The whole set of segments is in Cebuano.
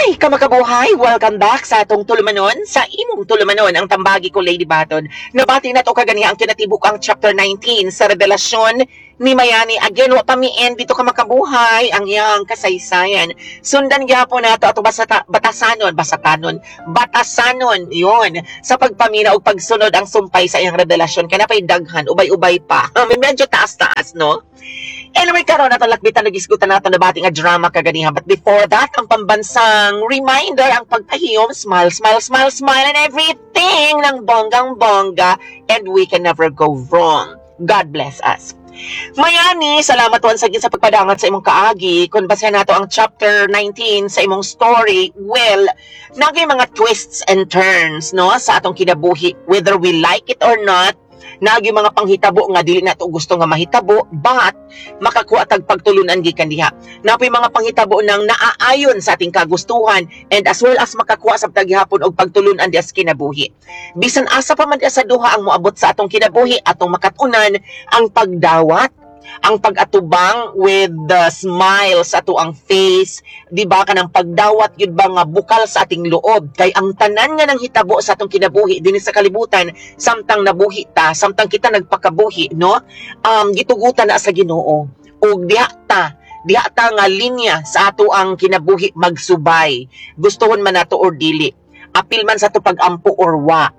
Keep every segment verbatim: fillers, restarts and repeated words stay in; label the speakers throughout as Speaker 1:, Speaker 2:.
Speaker 1: Hi, kamakabuhay! Welcome back sa atong tulumanon, sa imong tulumanon, ang tambagi ko, Lady Baton. Nabati na to kaganiha ang kinatibuk ang chapter nineteen sa revelasyon ni Mayani. Again, wa pa mi end dito, ka makabuhay, ang iyang kasaysayan. Sundan gyapon nato ato basata, batasanon, basatanon, batasanon, yon sa pagpamina og pagsunod ang sumpay sa iyang revelasyon. Kaya pa'y daghan, ubay-ubay pa. Medyo taas-taas, no? Anyway, karon ato lakbitan, nagisgutan nato nabati nga drama kaganiha. But before that, ang pambansang reminder, ang pagpahiyom, smile, smile, smile, smile, and everything ng bonggang-bongga, and we can never go wrong. God bless us. Mayani, salamat once again sa pagpadangat sa imong kaagi. Kung basehan nato ang chapter nineteen sa imong story, well, naging mga twists and turns, no, sa atong kinabuhi, whether we like it or not, nagi mga panghitabo nga dili nato gusto nga mahitabo, but makakuha tag pagtulunan gikan diha. Napoy mga panghitabo nang naaayon sa ating kagustuhan and as well as makakuha sa taghapon og pagtulunan diha sa kinabuhi. Bisan asa pa man diha sa duha ang moabot sa atong kinabuhi, atong makatunan ang pagdawat, ang pag-atubang with the smile sa ato ang face, di ba, kanang pagdawat yun ba nga bukal sa ating loob, kay ang tanan nga nang hitabo sa atong kinabuhi dinhi sa kalibutan samtang nabuhi ta, samtang kita nagpakabuhi, no, um gitugutan na sa Ginoo ug diha ta diha ta nga linya sa ato ang kinabuhi magsubay, gustuhon man nato or dili, apil man sa ato pag-ampo or wa,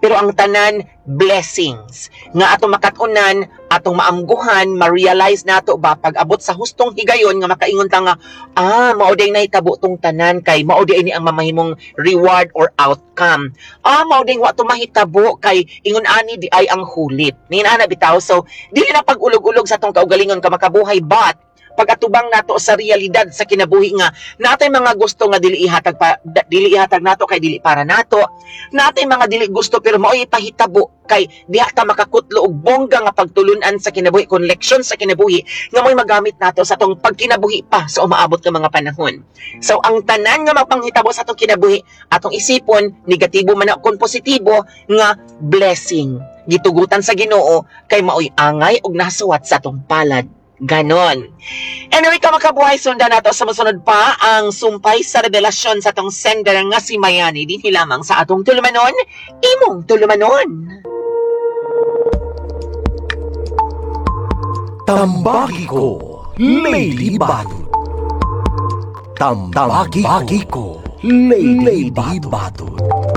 Speaker 1: pero ang tanan blessings nga ato makat-unan, atong maamguhan, ma-realize nato ba pag abot sa hustong higayon nga makaingon ta nga, "Ah, mao day nahitabo tong tanan kay mao day ini ang mamahimong reward or outcome. Ah, mao day wa to mahitabo kay ingon ani di ay ang hulit." Nin ana bitaw. So dili na pag-ulog-ulog sa atong kaugalingon, ka makabuhay, but pag-atubang nato sa realidad sa kinabuhi nga natay mga gusto nga dili ihatag pa, da- dili ihatag nato kay dili para nato, natay mga dili gusto pero mao'y pahitabo kay diha ta makakutlo og bongga nga pagtulunan sa kinabuhi, kon leksyon sa kinabuhi nga mo'y magamit nato sa atong pagkinabuhi pa sa umaabot nga mga panahon. So ang tanan nga mapanghitabo sa atong kinabuhi, atong isipon, negatibo man o kon positibo, nga blessing gitugutan sa Ginoo kay maoy angay og nasuwat sa atong palad. Ganon. Anyway, kamakabuhay, sundan nato sa mosunod pa ang sumpay sa revelasyon sa atong sender nga si Mayani dinhi lamang sa atong tulumanon, imong tulumanon.
Speaker 2: Tambagi ko, Lady Batud. Tambagi ko, Lady Batud.